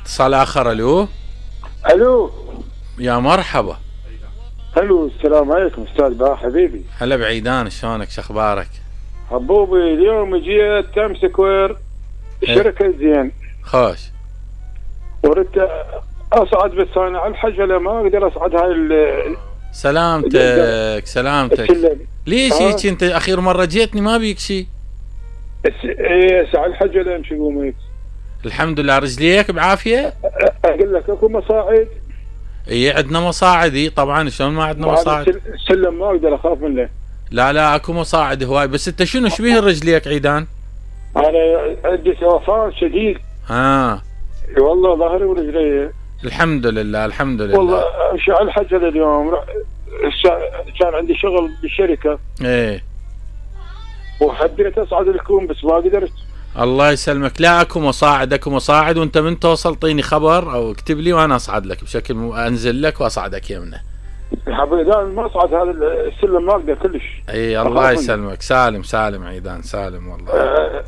اتصال اخر. الو يا مرحبا. الو السلام عليكم استاذ باه حبيبي. هلا بعيدان، شلونك شخبارك؟ حبوبي اليوم جيت تايم سكوير الشركه زين خوش. وردت اصعد بس انا على الحجله ما اقدر اصعد هاي سلامتك. ليش هيك انت اخير مره جيتني ما بيك شيء؟ على الحجله امشي قومي. الحمد لله. رجليك بعافيه؟ اقول لك اكو مصاعد. اي عندنا مصاعد. طبعا شلون ما عندنا مصاعد؟ السلم ما اقدر اخاف منه. لا اكو مصاعد هواي. بس انت شنو شبيه رجليك عيدان؟ انا عندي سوفان شديد. والله ظهري ورجلي. الحمد لله والله امشي على الحجله اليوم. كان عندي شغل بالشركه. وحبيت اصعد الكوم بس ما قدرت. الله يسلمك. لا اكو مصاعد وانت من توصل طيني خبر او اكتب لي وانا اصعد لك بشكل انزل لك واصعدك يمنه. حبيبي ما اصعد هذا السلم ما اقدر كلش. الله يسلمك. سالم عيدان سالم والله.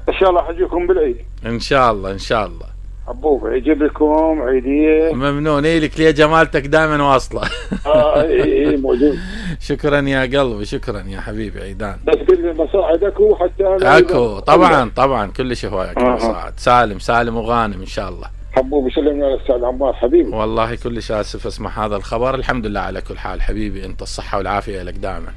ان شاء الله حجيكم بالعيد. ان شاء الله حبوبي يجيب لكم عيديه. ممنون. لك ليه جمالتك دائما واصله. موجود. شكرا يا قلبي، شكرا يا حبيبي عيدان. بس كل مصاعد اكو حتى انا اكو طبعا كل شيء هواي اكو مصاعد. سالم وغانم ان شاء الله. حبوبي سلمنا على الاستاذ عمار حبيبي. والله كلش اسف اسمع هذا الخبر. الحمد لله على كل حال حبيبي، انت الصحه والعافيه لك دائما.